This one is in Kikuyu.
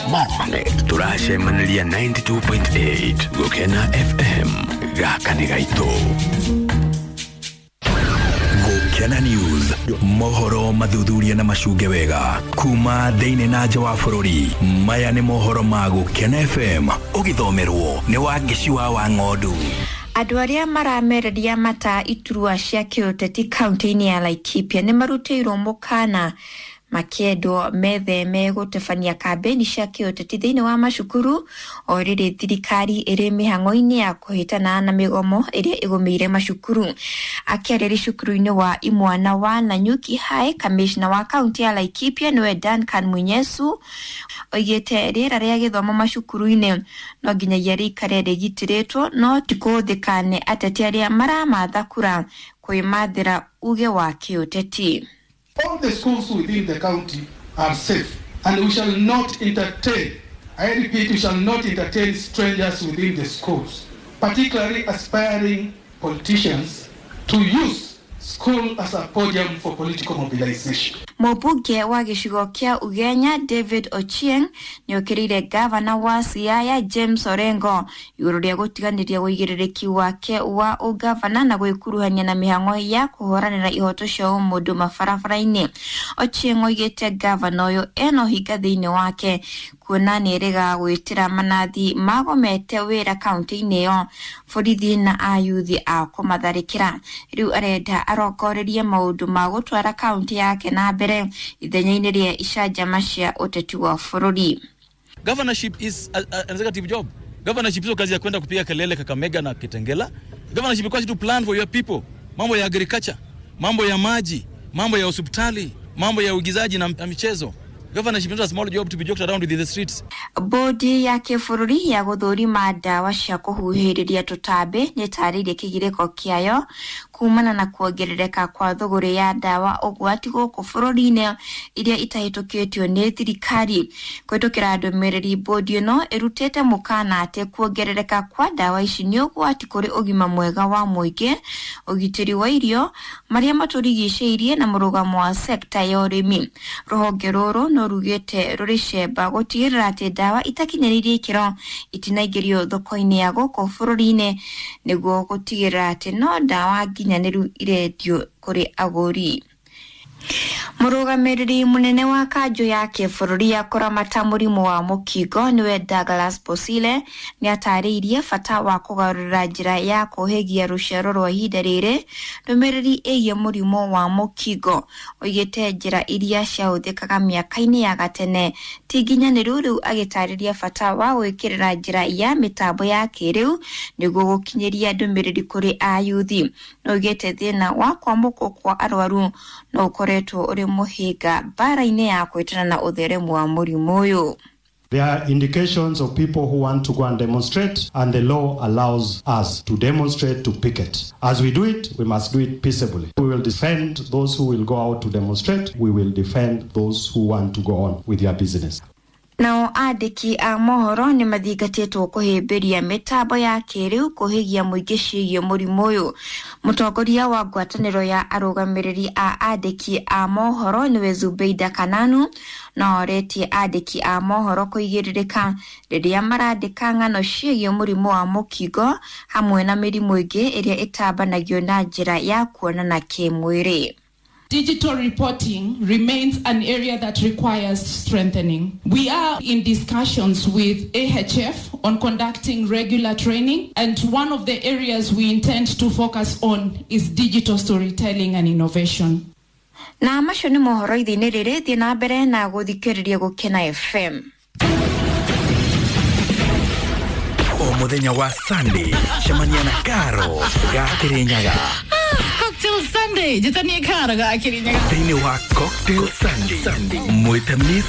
Marmanet tũracemanĩria 92.8 Gũkena FM gaka nĩ gaitũ. Gũkena News, mohoro mathuthuria na macunge wega kuma thĩinĩ na nja wa bũrũri. Maya nĩ mohoro ma Gũkena FM, ũgĩthomerwo nĩ Wangeci wa Wang'ondu. Andũ arĩa maramereria mata iturwa cia kĩũteti kaunti-inĩ ya Laikipia nĩ marutĩirwo mũkana makĩendwo metheme gũtabania kambĩni cia kĩũteti thĩinĩ wa macukuru o rĩrĩ thirikari ĩrĩ mĩhang'o-inĩ ya kũhĩtana na mĩgomo ĩrĩa ĩgũmĩire macukuru. Akĩarĩria cukuru-inĩ wa imwana wa Nanyuki High, kamishna wa kaunti ya Laikipia nĩwe Duncan Munyesu oigĩte rĩera rĩa gĩthomo macukuru-inĩ no nginyagia rĩikare rĩgitĩrĩtwo no ti kũhũthĩka nĩ ateti arĩa maramatha kura kwĩmathĩra uge wa kĩũteti. All the schools within the county are safe, and we shall not entertain, I repeat, we shall not entertain strangers within the schools, particularly aspiring politicians, to use school as a podium for political mobilization. Mũmbunge wa gĩcigo kĩa Ugenya David Ochieng nĩokĩrĩire gavana wa Siaya James Orengo igũrũ rĩa gũtiganĩria ũigĩrĩrĩki wake wa ũgavana na gwĩkuruhania na mĩhang'o ya kũhũranĩra ihoto cia ũmũndũ mabarabara-inĩ. Ochieng oigĩte gavana ũyũ ena ũhinga thĩinĩ wake kuona nĩeregaga gwĩtĩra manathi magomete wĩra kaunti-inĩ ĩyo borithi na ayuthi a kũmatharĩkĩra. Rĩu arenda arongorerie maũndũ ma gũtwara kaunti yake na mbere ithenya-inĩ rĩa icanjama cia ũteti wa bũrũri. Governorship is an executive job. Governorship sio kazi ya kwenda kupiga kelele Kakamega na Kitengela. Governorship requires you to plan for your people. Mambo ya agriculture, mambo ya maji, mambo ya hospitali, mambo ya uigizaji na michezo. Governorship is not a small job to be joked around with in the streets. Bodi ya kĩbũrũri ya gũthũrima ndawa cia kũhuhĩrĩria tũtambi nĩtarĩirie kĩgirĩko kĩayo kumana na kuongerereka kwa thũgũrĩ ya ndawa ũgwati gũkũ bũrũri-inĩ iria itahĩtũkĩtio nĩ thirikari. Kũhĩtũkĩra ndũmĩrĩri, bodi ĩno ĩrutĩte mũkana atĩ kuongerereka kwa ndawa ici nĩ ũgwati kũrĩ ũgima mwega wa mũingĩ, ũgitĩri wa irio, marĩa matũrigicĩirie na mũrũgamo wa sekta ya ũrĩmi. Rũhonge rũrũ no rugĩte rũrĩ cemba gũtigĩrĩra atĩ ndawa itakinyanĩirie ikĩro itinaingĩrio thoko-inĩ ya gũkũ bũrũri-inĩ nĩguo gũtigĩrĩra atĩ no ndawa nginyanĩru irendio kũrĩ agũri. Mũrũgamĩrĩri mũnene wa kanjũ ya kĩbũrũri ya kũramata mũrimũ wa mũkingo nĩwe Douglas Bosile nĩatarĩirie bata wa kũgarũrĩra njĩra ya kũhĩgia rũciaro rwa ihinda rĩrĩ ndũmĩrĩri ĩgiĩ mũrimũ wa mũkingo. Oigĩte njĩra iria ciahũthĩkaga mĩaka-inĩ ya gatene ti nginyanĩru, rĩu agĩtarĩria bata wa gwĩkĩrĩra njĩra ya mĩtambo ya kĩrĩu nĩguo gũkinyĩria ndũmĩrĩri kũrĩ ayuthi. Oigĩte thĩna wa kwamũkwo kwa arwaru no ũkoretwo ũrĩ mũhĩnga mbara-inĩ ya kwĩtana na ũtheremu wa mũrimũ ũyũ. There are indications of people who want to go and demonstrate, and the law allows us to demonstrate, to picket. As we do it, we must do it peaceably. We will defend those who will go out to demonstrate. We will defend those who want to go on with their business. Nao andĩki a mohoro nĩ mathingatĩtwo kũhĩmbĩria mĩtambo ya kĩrĩu kũhĩgia mũingĩ ciĩgiĩ mũrimũ ũyũ. Mũtongoria wa ngwatanĩro ya arũgamĩrĩri a andĩki a mohoro nĩwe Zubeida Kananu no oretie andĩki a mohoro kũigĩrĩrĩka rĩrĩa marandĩka ng'ano ciĩgiĩ mũrimũ wa mũkingo hamwe na mĩrimũ ĩngĩ ĩrĩa ĩtambanagio na njĩra ya kuonana kĩmwĩrĩ. Digital reporting remains an area that requires strengthening. We are in discussions with AHF on conducting regular training, and one of the areas we intend to focus on is digital storytelling and innovation. Na macio nĩ mohoro ithe-inĩ rĩrĩ, thiĩ na mbere na gũthikĩrĩria Gũkena FM. O mũthenya wa Sunday cemania na Karo ga Kĩrĩnyaga. Cocktail Sunday, njĩtanie Karo ga Kĩrĩnyaga thĩinĩ wa Cocktail Sunday, mwĩte Miss.